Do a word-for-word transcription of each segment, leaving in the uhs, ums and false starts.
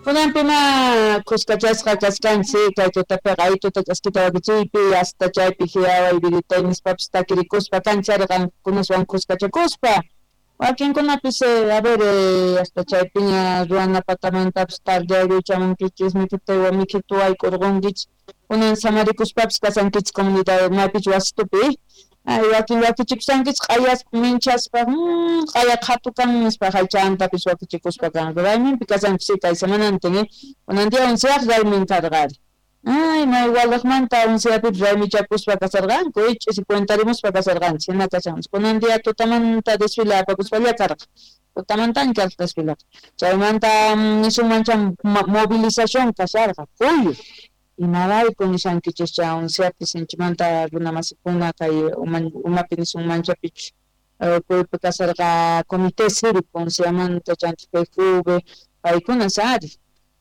Kunanpima kuskachasqa kachkanchik kay tutapiqa ay tuta ch'askita wakichiypi hasta chaypi hiyaway viditay nispapis takirikuspa kancharqan kunaswan kuskachakuspa wakinkunapis a ver hasta chaypiña ruwana patamantapis tardeaykuchamunkichis mikhutaywan mikhituwayk'urqunkichis kunan samarikuspapis kasankichis comunidad maypichus wasitupi. Ay, wakin wakichikushankichis q'ayaspa minchaspa q'aya qhatu kan nispa haychantapis wakichikuspa kan rayminpi kasanchis kay semanantin kunan día onceaq raymin karqari. Ay, may walaqmanta onceapipis raymichakuspa kasarqanku ch'isi cuentarimuspa kasarqanchis hina kashanchis kunan día tutamanta desfile apakuspalla karqa tutamantan karqa desfileqa chaymanta nisunmancha movilización kasharqa kuyu. Imarayku nishankichis chay onceapi sinchimanta runamasikuna kay umapi nisunmanchapichus kuypi kasarqa comité cívico onceamanta chanta P Q V paykunas ari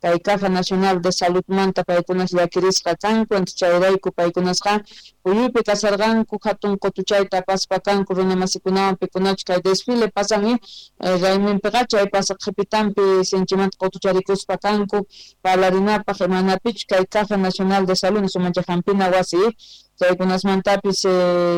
kay Caja Nacional de Saludmanta paykunas llakirisqa kanku chayrayku paykunasqa kuyuypi kasarqanku hatun qutuchayta apaspa kanku runamasikunawan pikunachu kay desfile pasan rayminpiqa chay pasaq qhipitanpi sinchimanta qutucharikuspa kanku parlarinapaq imanapichu kay Caja Nacional de Salud sumancha hampina wasi chaykunasmantapis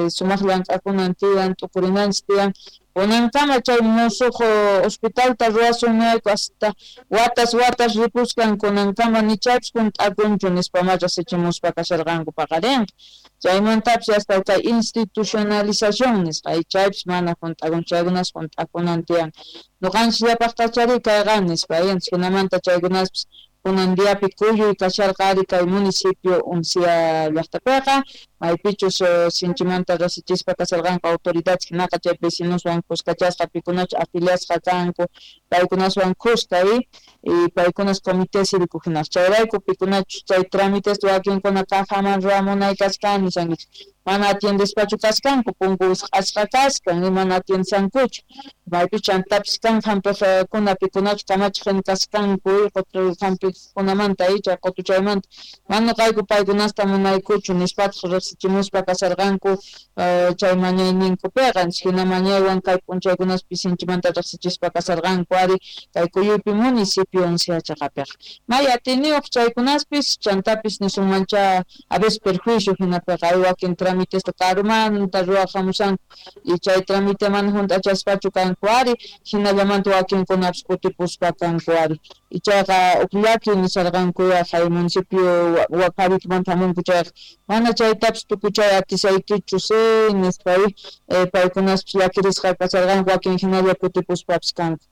sumaq llank'akunan tiyan t'ukurinanchis tiyan kunankama chay musuq hospitalta ruwasun niyayku hasta watas watas ripuskan kunankama ni chaypis hunt'akunchu nispa riqsichimuspa kasharqanku paqarinqa chaymantapis hasta kay institucionalización nisqa chaypis mana hunt'akunchu chaykunas hunt'akunan tiyan ñuqanchikllapaqtachari kayqa nispa hinamanta chaykunaspis kunan diapi kuyuy kasharqa ari kay municipio Uncia llaqtapiqa maypichus sinchimanta riqsichispa kasarqanku autoridades hinaqa chay vecinoswan kuskachasqa pikunachu afiliasqa kanku paykunaswan kuska y paykunas comité cívico hinaqa chayrayku pikunachu chay trámites wakinkuna cajaman ruwamunay kachkan nishankichik mana atiendespachu kachkanku punku wisq'asqa kachkan y mana atiendesankuchu maypi chantapis kan hampiqkuna pikunachu kamachiq hina kachkanku qutu hampiqkunamanta chay qutuchaymanta mana ñuqayku paykunasta munaykuchu nispataq riqsichimuspa kasarqanku chay mañayninkupiqa hina mañaywan kay p'unchaykunaspi sinchimanta riqsichispa kasarqanku ari kay kuyuypi municipio Uncia chaqapiqa may atiniyuq chaykunaspis chantapis nisunmancha a veces perjuicio hinapiqa hay wakin trámites karumanta ruwaq hamushanku y chay trámite mana hunt'achaspachu kanku ari hinallamanta wakinkunapis kutipuspa kanku ari ichaqa huk llaki nisarqanku kay municipio Huacavitumanta hamunku chayqa mana chaytapis tukuchay atisaykichu si nispa paykunaspis llakirisqa kasarqanku wakin hinalla kutipuspapis kanku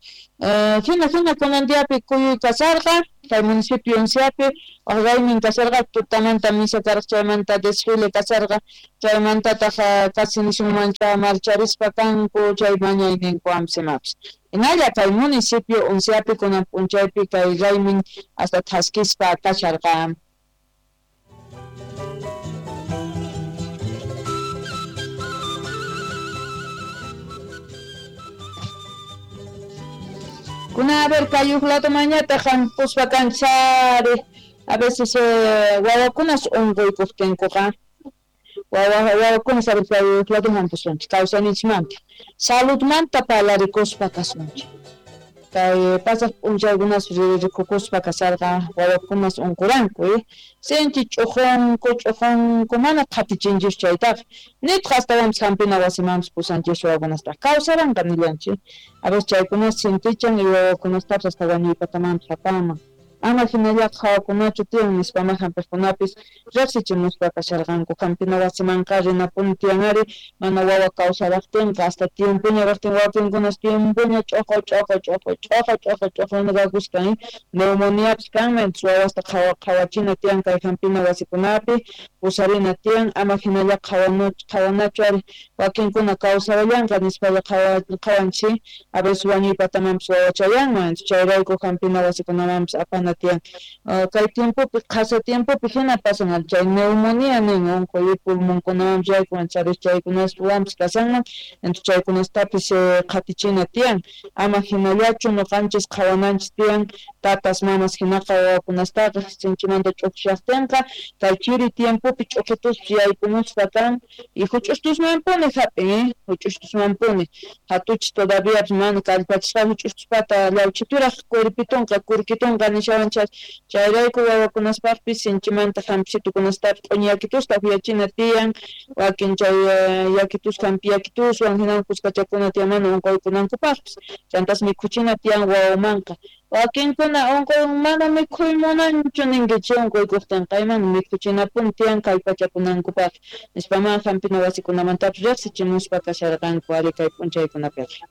hina hina kunan diapi kuyuy kasarqa kay municipio Unciapi raymin kasarqa tutamanta misa karqa chaymanta desfile kasarqa chaymantataq casi nisunmancha marcharispa kanku chay mañayninku amsimapis hinalla kay municipio Unciapi kunan p'unchaypi kay raymin hasta thaskispa kasharqa. Kuna a ver kay huk ladomanñataq hampuspa kanchari a veces wawakunas unquykuqtinkuqa wawa wawakunas a ver kay huk lado hampusunchik kawsayninchikmanta saludmanta parlarikuspa kasunchik kay pasaq p'unchaykunas rikukuspa kasarqa wawakunas unquranku sinchi ch'uqunku ch'uqunku mana qhatichinchis chaytaqa nitaq astawanpis hampina wasimanpis pusanchis wawakunastaq kawsaranqa nillanchik a veces chaykunas sintichan y wawakunastapis hasta wañuypatamanpis apanman ama hinallaqa hawakunachu tiyan nispama hampiqkunapis riqsichimuspa kasharqanku hampina wasimanqa rinapuni tiyan ari mana wawa kawsaraqtinqa hasta tiempoña raqtin wakinkunas tiempoña ch'uqu ch'uqu ch'uqu ch'uqu ch'uqu ch'uqu kakuskan neumoniapis kanman wawasta qhawachina tiyan kay hampina wasikunapi pusarina tiyan ama hinallaqa qhawanachu ari wakinkuna kawsarallanqa nispalla qhawanchik a veces wañuypatamanpis wawachayanman chayrayku hampina wasikunamanpis apana tiyan kay tiempopi qhasa tiempopi hina pasan chay neumonía nin unquy pulmonkunawanpis yaykun chaykunaswanpis kasanman entonces chaykunastapis qhatichina tiyan ama hinallachu ñuqanchis qhawananchis tiyan Tatas mamas hinaqa wawakunastaqa sinchimanta ch'uqshaqtinqa kay chiri tiempopi ch'uqituspas yaykumuspa kan y huch'ustusmanpuni hap'in, eh, huch'ustusmanpuni hatuchis todavía mana kallpachisqa huch'ustuspata llawchituraq cuerpitunqa kurkitunqa nishawan chayrayku wawakunaspaqpis sinchimanta hampishitukunastapis q'uñi yakitusta upyachina tiyan, wakin chay yakitus hampi yakituswan hinan kuskachakuna tiyan mana unquykunankupaqpis chantas mikhuchina tiyan wawamanqa. Wakinkuna unquy mana mikhuy munanchu ninkichik unquykuqtinqa imana mikhuchinapuni tiyan kallpachakunankupaq nispaman hampina wasikunamantapas riqsichimuspa kasharqanku ari kay p'unchaykunapiqa.